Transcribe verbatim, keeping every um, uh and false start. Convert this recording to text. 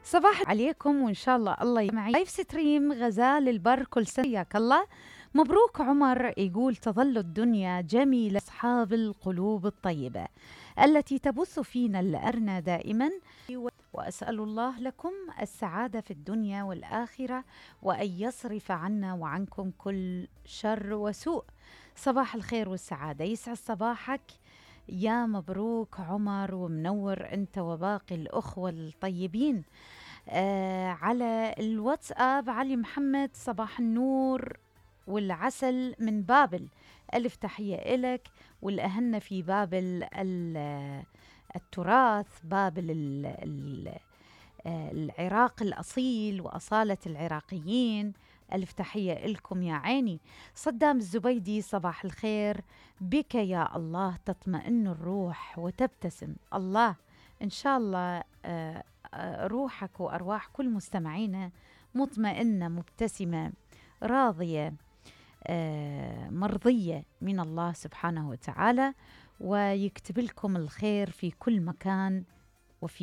صباح عليكم وإن شاء الله الله يمعي. لايف ستريم غزال البر كل سنة حياك الله. مبروك عمر يقول تظل الدنيا جميلة أصحاب القلوب الطيبة التي تبث فينا الأرنى دائما، وأسأل الله لكم السعادة في الدنيا والآخرة وأن يصرف عنا وعنكم كل شر وسوء. صباح الخير والسعادة، يسعد صباحك يا مبروك عمر ومنور أنت وباقي الأخوة الطيبين. آه على الواتساب علي محمد صباح النور والعسل من بابل، ألف تحية إلك والأهنة في بابل التراث، بابل ال ال العراق الأصيل وأصالة العراقيين، ألف تحية لكم يا عيني. صدام الزبيدي صباح الخير، بك يا الله تطمئن الروح وتبتسم. الله إن شاء الله آه روحك وأرواح كل مستمعينا مطمئنة مبتسمة راضية آه مرضية من الله سبحانه وتعالى، ويكتب لكم الخير في كل مكان